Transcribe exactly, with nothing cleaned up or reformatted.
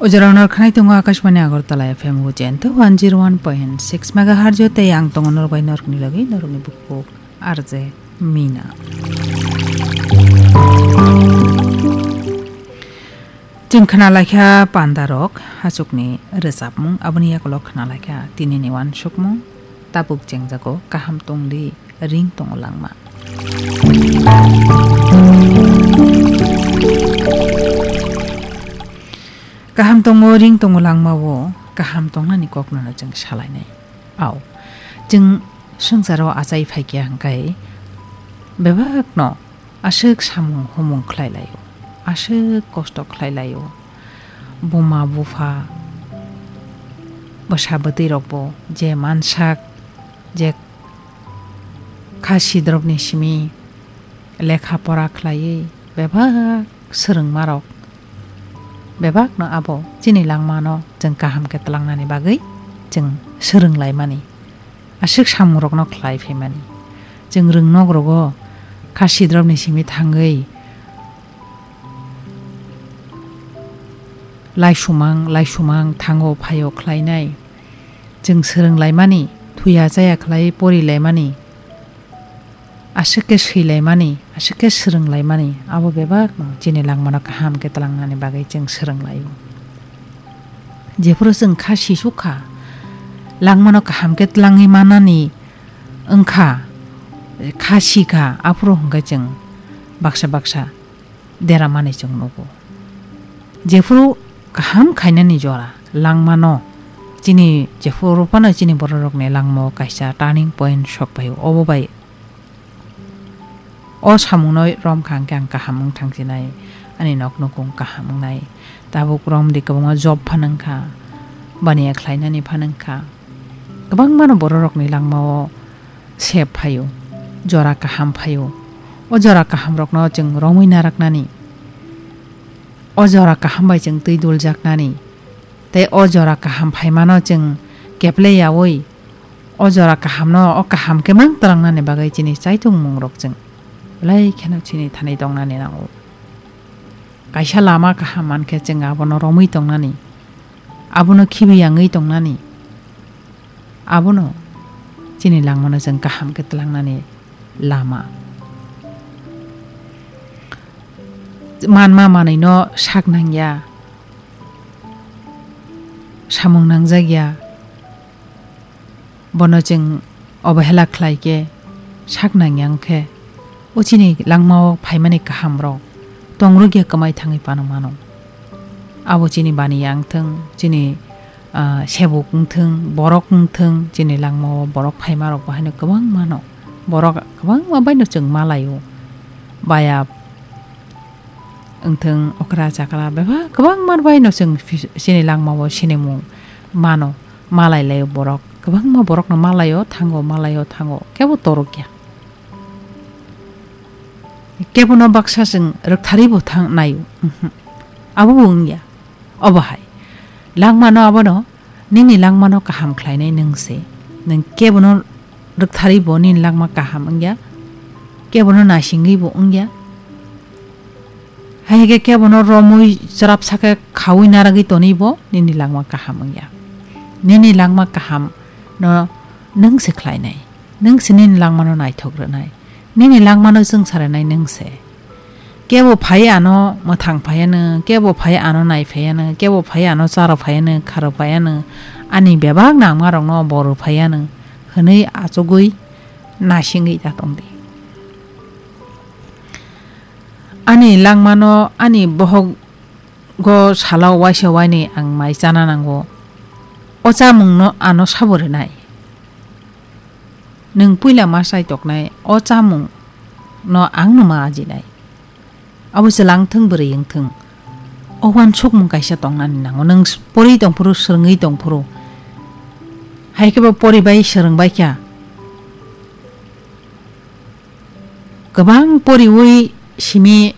O jora nor khnai tongo Akashbani Agartala F M Hujento one zero one point six megahertz o tei ang tongo nor bai norokni logi norokni bukbuk R J Mina. Chwng khna laikha pandarok hachukni rwchapmung, aboni yakolok khna laikha tinini uansukmung, tabuk chengjago kaham tongdi ring tongo langma. Kaham tongo ring tongo langmao kaham tongnani koknono chwng salainai. Au, chwng swngcharo achai phaikya hwnkhe bebakno aswk samung humung khlai laio, aswk kosto khlai laio. Buma bupha bwsa bwtwi rokbo je mansak, je kha sidrobni simi lekha pora khlaiwi bebak swrwngmarok bebakno abo chini langmano chwng kaham khe twlangnani bagwi chwng swrwng laimani. Aswk samungrokno khlai phaimani. Chwng rwngnok rogo kha sidrobni simi thangwi laisumang, laisumang thango phaio khlainai. Chwng swrwng laimani, thuya chaya khlai pori laimani, aswk khe swi laimani, aswk khe swrwng laimani, abo bebakno chini langmano kaham khe twlangnani bagwi chwng swrwng laio. Jephuru chwng kha sisuk kha, langmano kaham khe twlangwi manani wngkha, kha sikha, aphuru hwnkhe chwng baksa baksa deramani chwng nugo. Jephuru kaham khainani jora langmano, chini jephuru phano chini bororokni langmao kaisa turning point sok phaio. Obo bai o samungno romkha hwnkhe ang kaham wng thangsinai, ani nok nukung kaham wngnai. Tabuk romdi kwbangma job phano wngkha, baniya khlainani phano wngkha. Kwbangmano bororokni langmao sep phaio, jora kaham phaio. O jora kahamrokno chwng romwi naraknani, o jora kaham bai chwng twi duljaknani, tei o jora kaham phaimano chwng keple yaui, o jora kahamno o kaham khe mang twlangnani bagwi chini chaitungmungrok chwng belai kheno chini thani tongnani nango. Kaisa lama kaham mankhe chwng abono romwi tongnani, abono khibi yangwi tongnani, abono chini langmano chwng kaham khe twlangnani lama. Manma manwino sak nangya, samung nangjakya, bono chwng obahela khlai khe sak nangya wng khe, o chini langmao phaimani kahamrok tongrwkya kwmai thangwi phano mano. Abo chini baniya wngthwng, chini, ah, sebuk wngthwng, borok wngthwng, chini langmao borok phaimarok bo haino kwbangma no. Borok kwbangma baino chwng malaio. Baya wngthwng, okra chakra bebak kwbangma baino chwng phi-, chini langmao sinimung mano, malai laio borok. Kwbangma borokno malaio thango, malaio thango, kebo torokya. Kebono baksa chwng rwktharwi bo thang naio. Mhm. Abo bo wngya. Obo hai. Langmano abono, nini langmano kaham khlainai nwng se. Nwng kebono rwktharwi bo nini langma kaham wngya. Kebono naisingwi bo wngya. Hai khe kebono romwi chwrapsa khe khaui naragwi tonwi bo nini langma kaham wngya. Nini langma kaham no nwng se khlainai. Nwng se nini langmano naithok rwnai. Nini langmano chwngsa rwnai nwng se. Kebo phai ano mwthang phai ano, kebo phai ano nai phai ano, kebo phai ano charo phai ano, kharo phai ano, ani bebak nangmarokno bo rw phai ano hwnwi achugwi naisingwi ta tongdi. Ani langmano ani bohok go salo waisa wainwi ang mai chana nango. O chamungno ano sabo rwnai. Nwng puila ma chai toknai o chamungno ang no ma ajinai. Abo se langthwng bwrwi wngthwng. O uansukmung kaisa tongnani nango. Nwng s-, pori tongphuru, swrwngwi tongphuru. Hai khe bo pori bai swrwng bai kha. Kwbang poriwi simi